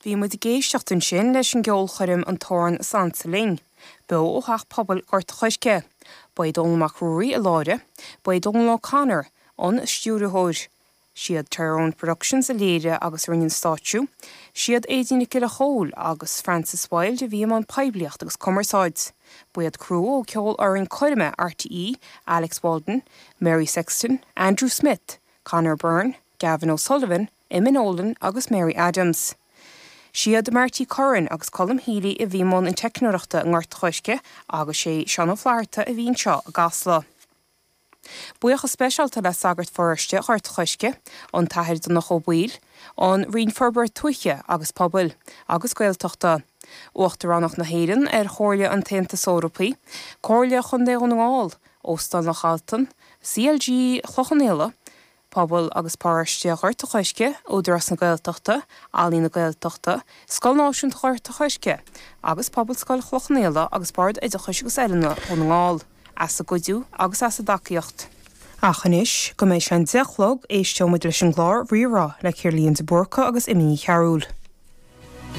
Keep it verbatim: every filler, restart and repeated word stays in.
Bhí muid ag éisteacht ansin leis an gceolchoirm An tOran Is Ansa Linn, beo ó Theach Pobail Ghort an Choirce. Ba é Dónall Mac Ruairí i láthair, ba é Dónal O'Connor an stiúrthóir. Siad Tyrone Productions a léirigh agus a rinne an stáitsiú, siad Aedín Nic Giolla Chóill agus Francis Wilde a bhí i mbun poiblíocht agus cumarsáid. Ba iad criú ó Ceolfhoireann Coirme RTÉ, Alex Walden, Mary Sexton, Andrew Smith, Conor Byrne, Gavin O'Sullivan, Eamon Nolan agus Mary Adams. Siad Marty Curran agus Colm Healy a bhí i mbun an teicneoireachta i nGort an Choirce agus sé Seán Ó Flatharta a bhí anseo i gCasla. Buíochas speisialta le sagart pharóiste Ghort an Choirce, an tAthair Donncha Ó Baoill, an Roinn Forbartha Tuaithe agus Pobail agus Gaeltachta, Uachtaránacht na hÉireann ar Chomhairle an tAontas Eorpaí, Comhairle Chontae Dhún na nGall, Óstán Loch Altan, CLG Chloich Cheann Fhaola, Pobal agus Paróiste Ghort an Choirce, Údarás na Gaeltachta, Ealaín na Gaeltachta, Scoil Náisiúnta Ghort an Choirce, agus Pobalscoil Chloich Cheann Fhaola agus Bord Oideachais agus Oiliúna Dhún na nGall, as a gcuidiú agus as a dtacaíocht. Ach anois go mbeidh sé an deich a chlog éisteoidh muid leis an gclár Rí-Rá le Ciarlaíonn de Búrca agus Imní Chearúil.